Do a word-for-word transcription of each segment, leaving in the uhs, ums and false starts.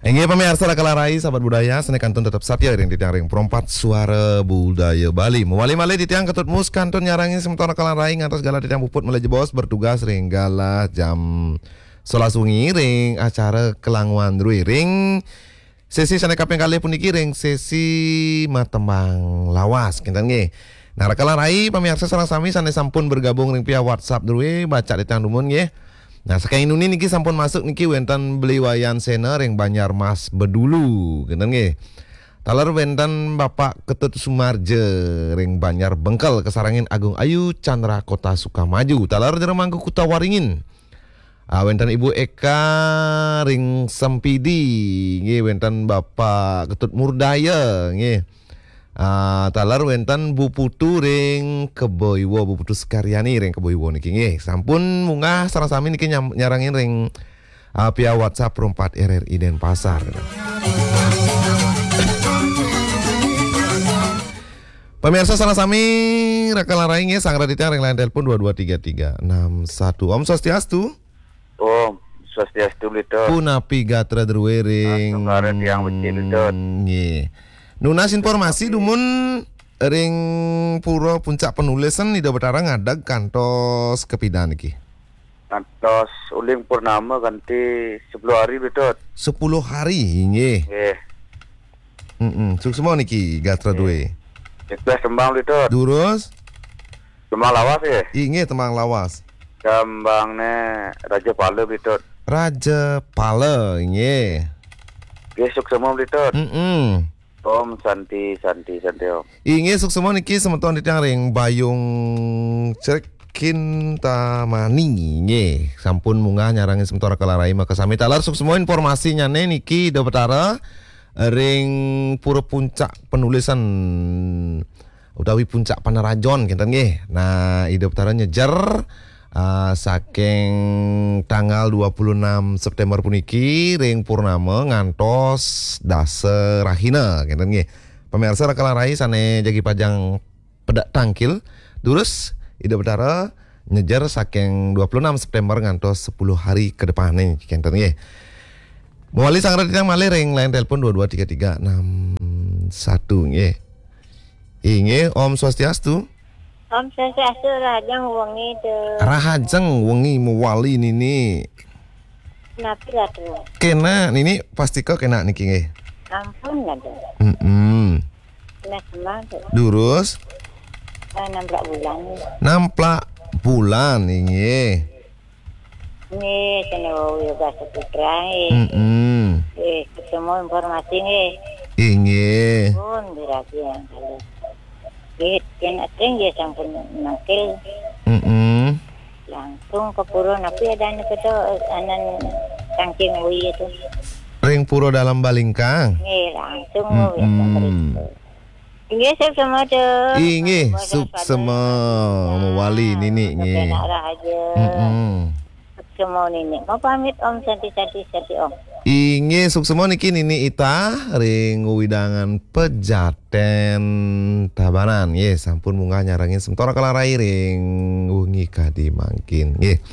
Inggih pamiarsa Raka lan Rai, sahabat budaya, sané kantun tetep satia ring titiang ring Pro empat Suara Budaya Bali. Mawali malih titiang Ketut Mus kantun nyarengin semeton Raka lan Rai ngantos galah titiang puput malih jebos bertugas ring galah jam sebelas wengi ring acara Kelanguan Drue ring sesi sané kaping kalih puniki ring sesi matembang lawas, kinten nggih. Nah, Raka lan Rai, pamiarsa sareng sami sané sampun bergabung ring via WhatsApp Drue, baca titiang dumun nggih. Nah, saking Inuni niki sampun masuk niki wénten Beli Wayan Sena ring Banjarmas Bedulu, kinten nggih. Taler wénten Bapak Ketut Sumarja ring Banjar Bengkel, kasarengin Agung Ayu Chandra Kota Sukamaju. Taler Jero Mangku Kuta Waringin. Ah, wénten Ibu Eka ring Sempidi, nggih, wénten Bapak Ketut Murdaya, nggih. Ah, taler wénten Bu Putu ring Kebo Iwa, Bu Putu Sekaryani ring Kebo Iwa niki, nggih. Sampun munggah sareng sami niki nyam-, nyarengin ring, ah, via WhatsApp Pro empat R R I Denpasar. Pamiarsa sareng sami, Raka lan Rai nggih, sareng titiang ring line telepon dua dua tiga tiga enam satu. Om Swastiastu. Om Swastiastu, Bli Tut. Punapi gatra drue ring Astungkara tiang becik, Bli Tut. Nggih. Nunas informasi dumun ring Pura Puncak Penulisan Ida Betara ngadeg kantos kapidan niki? Kantos uling purnama kanti sepuluh hari, Bli Tut. Sepuluh hari, inggih. Nggih. Mm-mm. Suksma niki gatra drue. Ikhlas tembang, Bli Tut. Durus? Tembang lawas, nggih. Inggih, tembang lawas. Tembangné Raja Pala, Bli Tut. Raja Pala, inggih. Nggih, suksma, Bli Tut. Mm-mm. Om Santi, Santi, Santi, Om. Inggih, suksma niki semeton titiang ring Bayung Cek Kintamani, nggih. Sampun munggah nyarengin semeton Raka lan Rai makasami. Taler suksma informasinyané niki Ida Betara ring Pura Puncak Penulisan utawi Puncak Panarajon, kinten nggih. Nah, Ida Betara nyejer, ah, saking tanggal dua puluh enam September puniki ring purnama ngantos dasa rahina, kinten nggih. Pamiarsa Raka lan Rai sané jagi pajang pedak tangkil, durus Ida Betara nyejer saking dua puluh enam September ngantos sepuluh hari ke depan nih, kinten nggih. Mawali sareng titiang malih ring line telepon dua dua tiga tiga enam satu nggih. Inggih, Om Swastiastu. Om Swastiastu, rahajeng wengi, Tut. Rahajeng wengi mawali Nini. Napi lah, Tut? Kénak, Nini pastika kénak niki nggih. Ampun lah, Tut. Mm-mm. Nah, kemang, Tut. Durus? Ah, namplak bulan. Namplak bulan, inggih. Nggih, kena wau Yoga Saputra, nggih. Mm-mm. Nggih, ketemu informasi, nggih. Inggih. Pun diragi yang kali. Nggih, kena tring, nggih, sampun mangkil. Mm-mm. Langsung ke pura, napi adané kita, anan Kangking Wi itu. Ring Pura Dalam Balingkang. Nggih, langsung, nggih, mm-mm. Sampai itu. Inggih, suksma, Tut. Inggih, suksma. Mawali Nini, nggih. Kenak rahaja. Mm-mm. Suksma Nini. Mau pamit, Om, Santi, Santi, Santi, Om. Inggih, suksma niki Nini Ita ring wewidangan Pejaten Tabanan. Nggih, sampun munggah nyarengin semeton Raka lan Rai ring wengi kadi mangkin. Nggih.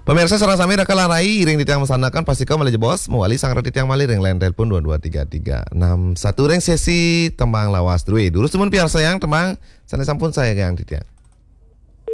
Pamiarsa sareng sami Raka lan Rai ring titiang masandekan pastika malih jebos, mawali sareng titiang malih ring line telepon dua dua tiga tiga enam satu ring sesi tembang lawas drue. Durus dumun piarsayang tembang sané sampun sayanggayang titiang.